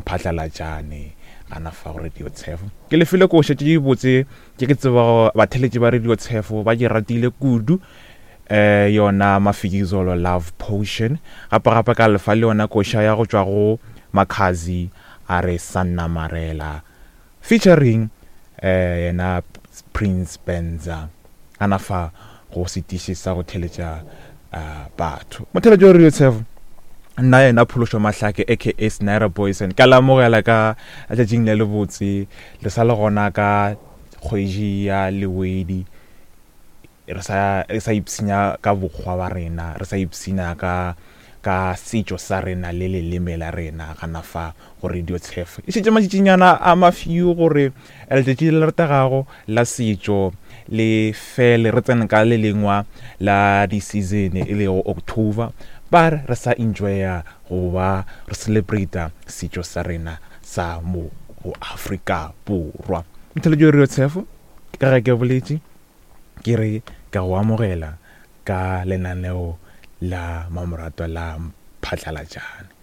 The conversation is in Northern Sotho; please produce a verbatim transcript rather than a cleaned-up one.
Mphatlalatšane gana fa go Radio Tshefo. Ke lefile koša tše dibotse tše ke tsebago batheletši ba Radio Tshefo ba di ratile kudu, eh yona Mafikizolo Love Potion. Gape gape ka lefa le yona koša ya go tšwa go Makhazi a re Sanna Marela featuring eh yena Prince Benza gana fa go setiši sa go theletša uh, batho. Motheletši wa Radio Tshefo, nna yena Phološo Mahlake aka Snyder Boyson, ka le amogela ka letšatšing le lebotse. Le sa le gona ka kgwedi ya Lewedi, re sa re sa ipshina ka bokgwa ba rena, re sa ipshina ka ka setšo sa rena le leleme la rena gana fa go Radio Tshefo. E šetše matšatšinyana a mafiu gore letšatši le le rategago la setšo le fele, re tsene ka le lengwa la di-season e lego October, ba re re sa enjoya go ba re celebrata setšo sa rena sa mo go Afrika Borwa. Motheletši wa Radio Tshefo, ka ge ke boletše ke re ka go amogela ka lenaneo la mamoratwa la Mphatlalatšane.